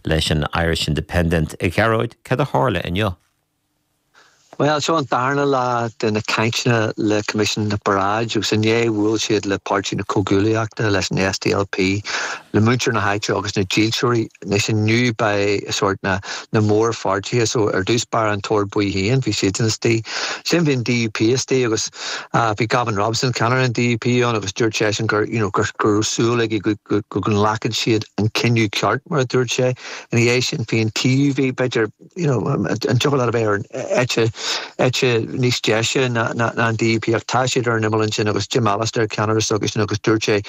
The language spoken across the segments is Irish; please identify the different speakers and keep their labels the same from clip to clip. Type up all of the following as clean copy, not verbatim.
Speaker 1: leis an Irish Independent. A Ghearóid, cad a tharla inniu?
Speaker 2: Bhuel, seo an darna lá de na cainteanna le Coimisiún na Paráide agus inné bhuail siad le Páirtí na Comhghuaillíochta, leis an SDLP, le muintir na háite agus na dílseoirí. Anois inniu beidh sórt na na mórpháirtithe so ar dtús báire an tOrd Buí féin, bhí siadsan istigh. Ansin bhí an DUP istigh agus bhí Gavin Robinson, ceannaire an DUP ann agus dúirt seisean gur you know gur go raibh súil aige go go go nglacfadh siad an cinneadh ceart mar a dúirt sé. Ina dhiaidh sin bhí an TUV, b'fhéidir, you know, an dtiocfadh leat a bheith ar an eite, eite níos deise ná, ná, ná an DUP ach tá siad ar an imeall ansin agus Jim Allister ceannaire s'acusan agus dúirt sé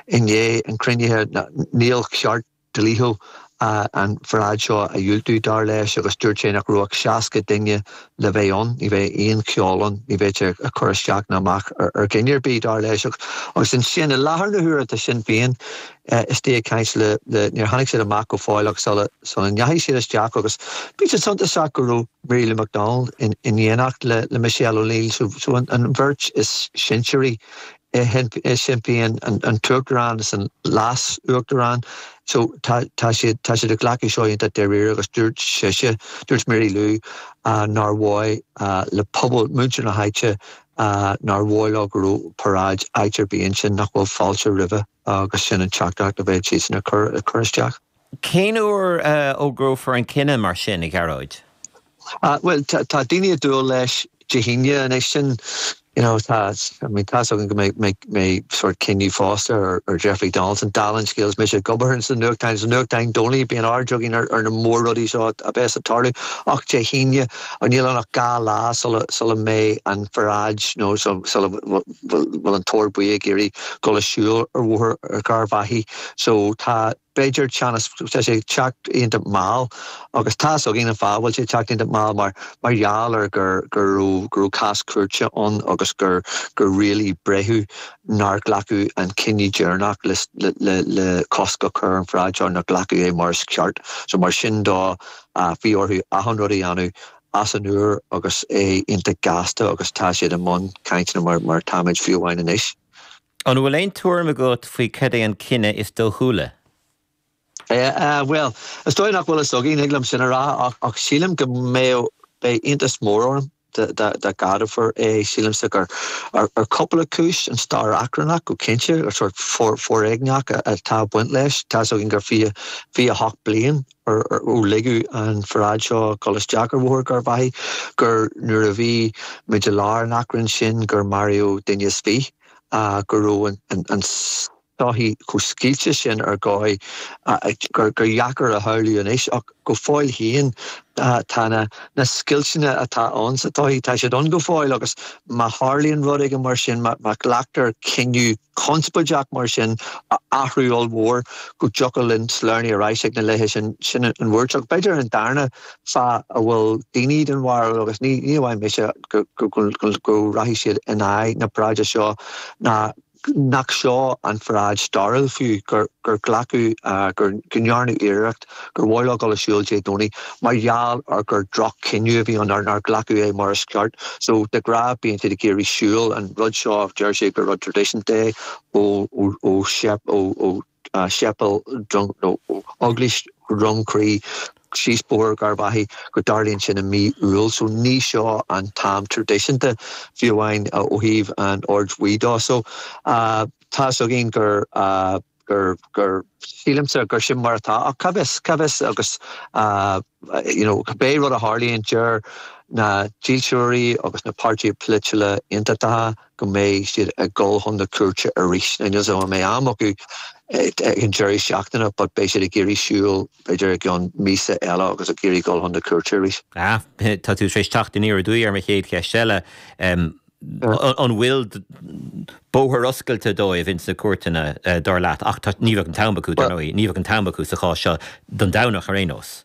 Speaker 2: i ndiaidh an chruinnithe níl ceart dlíthiúil an pharáid seo a dhiúltú dar leis agus dúirt sé nach raibh ach 60 duine le bheith ann, ní bheidh aon cheol ann, ní bheidh sé ag cur isteach ná amach ar, ar dhuine ar bith dar leis agus ansin i láthair na huaire tá Sinn Féin istigh ag caint le, le, níor tháinig siad amach go fóill ach sula, sula ndeachaigh siad isteach agus bhí sé suntasach go raibh Mary Lou McDonald in, in éineacht le, le Michelle O'Neill so, so an, an bheirt is sinsearaí i, i Sinn Féin, an, an tUachtarán is an Leas-Uachtarán so tá, tá siad, tá siad ag glacadh seo iontach dáiríre agus dúirt sise, dúirt Mary Lou nár mhaith le pobal, muintir na háite nár mhaith leo go raibh paráid áit ar bith ansin nach bhfuil fáilte roimhe. agus sin an teachtaireacht a bheidh siadsan ag cur ag cur isteach.
Speaker 1: Cén uair a fhógrófar an cinneadh mar sin, a Ghearóid?
Speaker 2: Bhuel, tá daoine ag dúil leis Dé hAoine anois sin, you know, tá, I mean, tá's againn go mbeidh, mbeidh, mbeidh sórt cinneadh fosta ar, ar Jeffrey Donaldson, dála an scéil is mise ag obair sna nuachtáin, sna nuachtáin Domhnaigh, bíonn aird againn ar, ar na mór-rudaí seo a bheas ag tarlú ach Dé hAoine, níl ann ach 2 lá sula, sula mbeidh an pharáid nó sula bhfuil an tOrd Buí ag iarraidh dul ag siúl ar Bhóthar Gharbhachaidh so tá b'fhéidir teannas, tá sé ag teacht iontach mall agus tá's againn an fáth a bhfuil sé ag teacht iontach mall mar mar gheall ar gur go raibh go raibh cás cúirte ann agus gur gur rialaigh breitheamh nár glacadh an cinneadh deireanach le le le cosc a chur ar an pharáid seo nár glacadh é mar is ceart so mar sin dó bhí orthu achan rud a dhéanamh as an úr agus é iontach gasta agus tá siad i mbun cainteanna mar mar táimid fiú amháin anois.
Speaker 1: An bhfuil aon tuairim agat faoi cad é an cinneadh is dóchúla?
Speaker 2: Bhuel, is dóigh nach bhfuil fhios againn, thig liom sin a rá, ach ach sílim go mbeadh, beidh iontas mór orm dá dá gceadófar é. Sílimse gur ar ar cúpla cúis, an stair achrannach go cinnte, ar sórt foréigneach atá ag baint leis, tá's againn gur 20, 28 bliain ó ligeadh an pharáid seo dul isteach ar Bhóthar Gharbhachaidh, gur nuair a bhí muid i lár an achrainn sin gur maraíodh duine is fiche, go raibh an tsochaí chomh scoilte sin ar dhóigh gur dheacair a shamhlú anois. Ach go fóill féin tá na scoilteanna atá ann sa tsochaí, tá siad ann go fóill agus má tharlaíonn rud éigin mar sin, má ghlactar cinneadh conspóideach mar sin, athrú ollmhór go dtiocfadh linn sleamhnú ar ais ag na laethe sin, sin an bhuairt. Ach b'fhéidir an darna fáth a bhfuil daoine den bharúil, agus ní amháin mise, go rachaidh siad in aghaidh na paráide seo ná nach seo an pharáid stairiúil fiú, gur glacadh, go ndearnadh iarracht gur mhaith leo dul ag siúl Dé Domhnaigh mar gheall ar gur droch-chinneadh a bhí ann, nár glacadh é mar is ceart. So, de ghnáth bíonn siad ag iarraidh siúl, an rud seo, deir siad gur rud traidisiúnta é ó ó ó Séipéal nó ó Eaglais Dhroim Crí síos Bóthar Gharbhachaidh go dtarlaíonn sin i mí Iúil. So ní seo an t-am traidisiúnta fiú amháin ó thaobh an Oird Bhuí dó. So tá's againn gur gur, gur, sílimse gur sin mar atá, ach cá bhfios, cá bhfios agus you know cibé rud a tharlaíonn, deir na dílseoirí agus na páirtithe polaitiúla aontachtacha go mbeidh siad ag dul chun na cúirte arís. Now níl 's agam an mbeidh am acu ag an deireadh seachtaine but beidh siad ag iarraidh siúl b'fhéidir i gceann míosa eile agus ag iarraidh dul chun na cúirte arís.
Speaker 1: Ah, tá tú tar éis teacht aniar aduaidh ar mo chéad cheist eile. An bhfuil bóthar oscailte dóibh ins na cúirteanna, dar leat? Ach tá, ní bheadh an t-am acu, dar ndóigh, ní bheadh an t-am acu sa chás seo don Domhnach ar aon nós.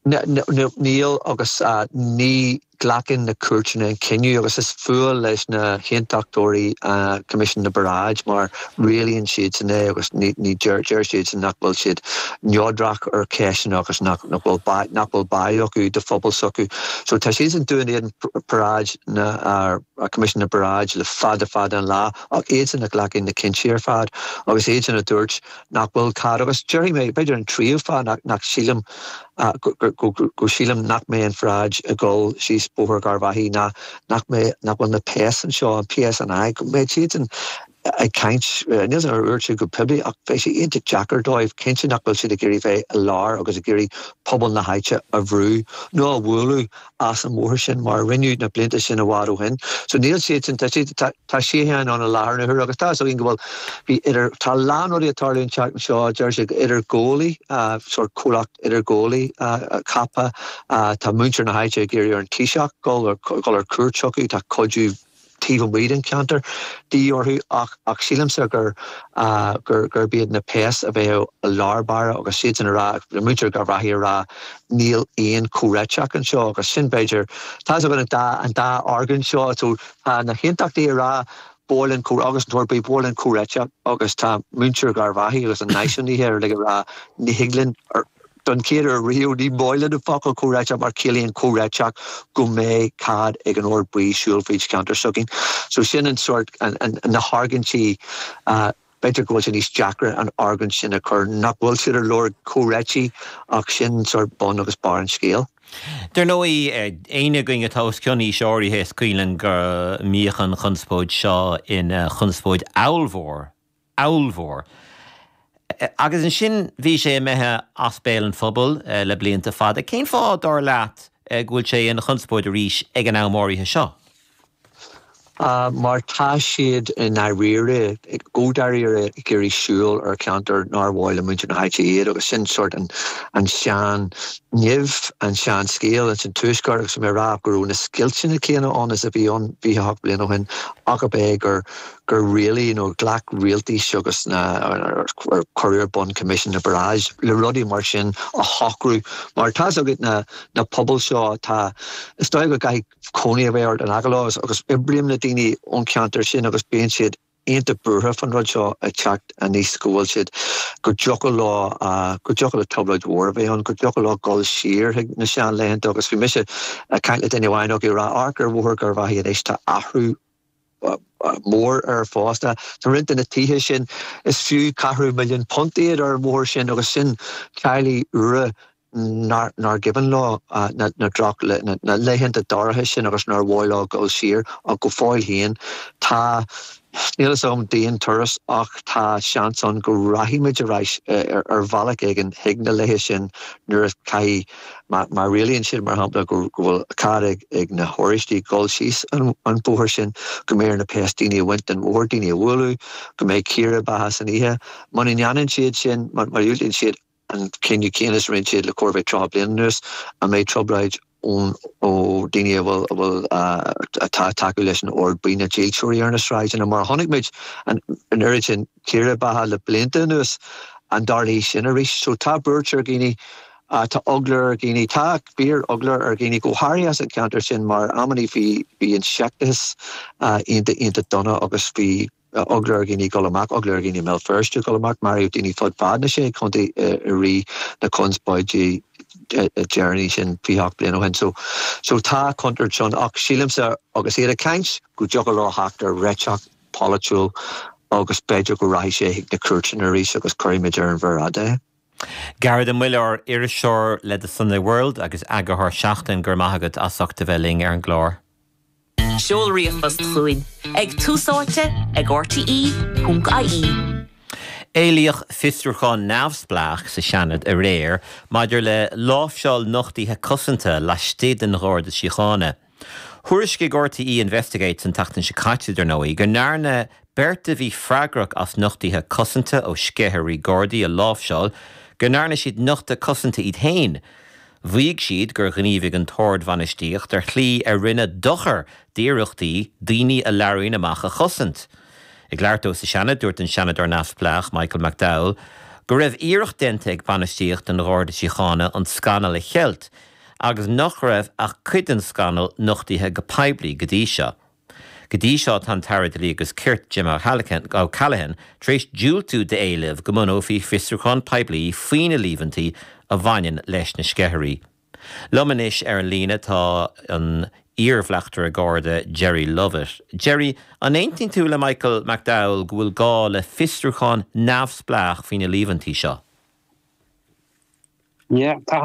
Speaker 2: Níl agus ní glacann na cúirteanna an cinneadh agus is fuath leis na haontachtóirí Coimisiún na bParáid mar rialaíonn siadsan é agus ní ní deir deir siadsan nach bhfuil siad neodrach ar cheisteanna agus nach nach bhfuil nach bhfuil báidh acu do phobal s'acu. So tá siadsan dúinn iad paráid na Coimisiún na bParáid le fada fada an lá ach iadsan a ghlacann na cinntí ar fad agus iadsan a dúirt nach bhfuil cead agus déarfaidh mé b'fhéidir an tríú fáth nach nach sílim go go sílim nach mbeidh an pharáid ag dul síos Bóthar Gharbhachaidh ná nach mbeidh nach bhfuil na péas anseo an PSNI go mbeidh siadsan ag caint níl ar dúirt siad go poiblí ach beidh sé iontach deacair dóibh cinnte nach bhfuil siad ag iarraidh bheith i lár agus ag iarraidh pobal na háite a bhrú nó a bhualadh as an mbóthar sin mar a rinneadh na blianta sin i bhfad ó shin. So níl siadsan, tá siad, tá, tá síocháin ann i láthair na huaire agus tá fhios againn go bhfuil, bhí idir, tá a lán rudaí ag tarlú an tseachtain seo, deir siad idirghabhálaí, sórt comhlacht idirghabhálaí ceaptha, tá muintir na háite ag iarraidh ar an Taoiseach dul ar, dul ar cuairt chucu, tá cuidiú taobh amuigh den cheantar de dhíth orthu ach ach sílimse gur gur gurb iad na péas a bheadh i lár báire agus siadsan a rá, muintir Gharbhachaidh a rá níl aon chomhréiteach anseo agus sin b'fhéidir, tá fhios againn an dá an dá argóint seo so tá na haontachtaithe a rá ba mhaith linn comh agus an tOrd Buí ba mhaith linn comhréiteach agus tá muintir Gharbhachaidh agus an náisiúnaithe ar like a rá ní thig linn Don chéad uair riamh, ní maith linn an focal comhréiteach mar ciallaíonn comhréiteach go mbeidh cead ag an Ord Buí siúl fríd cheantar s'againn. So sin an sórt, na hargóintí, b'fhéidir go bhfuil sé níos deacra an argóint sin a chur, nach bhfuil siad ar lorg comhréitigh ach sin sórt bun agus barr an scéil.
Speaker 1: Dar ndóigh, éinne againn atá os cionn aois áirithe is cuimhin linn go mbíodh an chonspóid seo ina chonspóid ollmhór ollmhór. Agus ansin bhí sé imithe as béal an phobail le blianta fada. Cén fáth, dar leat, go bhfuil sé ina chonspóid arís ag an am áirithe seo?
Speaker 2: Mar tá siad i ndáiríre, go dáiríre, ag iarraidh siúl ar cheantar nár mhaith le muintir na háite iad agus sin sórt an an sean nimh, an sean scéal ins an Tuaisceart agus mé ag rá go raibh na scoilteanna céanna ann is a bhí ann 28 bliain ó shin ach ab é gur gur rialaigh nó ghlac rialtais agus na ar cuireadh ar bun Coimisiún na bParáid le rudaí mar sin a shocrú mar tá fhios agat na na pobail seo tá is dóigh go gcaithfidh cónaí a bheith ort in aice leo agus oibrím le daoine ón cheantar sin agus bíonn siad iontach buartha fán rud seo ag teacht aníos go bhfuil siad go dtiocfadh leo go dtiocfadh le trioblóid mhór a bheith ann go dtiocfadh leo dul siar chuig na seanlaethanta agus bhí mise ag caint le duine amháin acu ag rá amharc ar Bhóthar Gharbhachaidh anois tá athrú mór air fosta. Tá roinnt de na tithe sin, is fiú ceathrú milliún punt iad ar an mbóthar sin agus sin teaghlaigh úra nár nár cuimhin leo na droch na laethanta dorcha sin agus nár mhaith leo dul siar ach go fóill féin tá níl fhios agam d'aon turas ach tá seans ann go rachaidh muid ar ais ar bhealach éigin chuig na laethe sin nuair a caithfidh Má rialaíonn siad, mar shampla, go bhfuil cead ag na hOráistigh dul síos an bóthar sin, go mbeidh ar na péas daoine a bhaint den bhóthar, daoine a bhualadh, go mbeidh círéibeacha san oíche. Muna ndéanann siad sin, má dhiúltaíonn siad an cinneadh céanna is a rinne siad le chóir a bheith 30 bliain anuas, an mbeidh trioblóid ón ó daoine a bhfuil, a bhfuil, atá ag tacú leis an Ord Buí, na dílseoirí ar na sráideanna, mar a chonaic muid an oiread sin círéibeacha le blianta anuas, an dtarlóidh sin arís? So tá buairt ar dhaoine. Tá eagla ar dhaoine, tá fíor eagla ar dhaoine, go háirithe as an cheantar sin mar amannaí bhí bhí an seicteachas iontach iontach dona agus bhí eagla ar dhaoine dul amach, eagla ar dhaoine i mBéal Feirste dul amach, maraíodh daoine fud fad na sé chontae i rith na conspóidí deireanaí sin 28 bliain ó shin. So so tá contúirt ann ach sílimse agus iad ag caint go dtiocfadh leo theacht ar réiteach polaitiúil agus b'fhéidir go rachaidh sé chuig na cúirteanna arís agus cuirfimid ar an mhéar fhada é.
Speaker 1: Gearóid Ó Muilleoir, iriseoir le The Sunday World agus eagarthóir Seachtain, go raibh maith agat as ucht a bheith linn ar an gclár.
Speaker 3: Seol ríomhphost chugainn ag túsáite ag rte.ie.
Speaker 1: Éilíodh fiosrúchán neamhspleách sa Seanad aréir maidir le láimhseáil nochtuithe cosanta laistigh den Gharda Síochána. Thuairiscigh RTÉ Investigates an tseachtain seo caite, dar ndóigh, go ndearna beirt a bhí freagrach as nochtuithe cosanta ó sceithirí Gardaí a láimhseáil, go ndearna siad nochtadh cosanta iad féin. Mhaígh siad gur ghníomhaigh an t-ardbhainistíocht ar shlí a rinne dochar d'iarrachtaí daoine a labhraíonn amach a chosaint. Ag labhairt dó sa Seanad, dúirt an Seanadóir neamhspleách Michael McDowell go raibh iarracht déanta ag bainistíocht an Gharda Síochána an scannal a cheilt. agus nach raibh ach cuid den scannal nochtaithe go poiblí go dtí seo. Go dtí seo tá an tAire Dlí agus Cirt, Jim O'Callaghan, tar éis diúltú d'éilimh go mbunófaí fiosrúchán poiblí faoi na líomhaintí a bhaineann leis na sceithirí. Liom anois ar an líne tá an iar-bhleachtaire Garda Gerry Lovett. Gerry, an aontaíonn tú le Michael McDowell go bhfuil gá le fiosrúchán neamhspleách faoi na líomhaintí seo?
Speaker 4: Yeah, tá.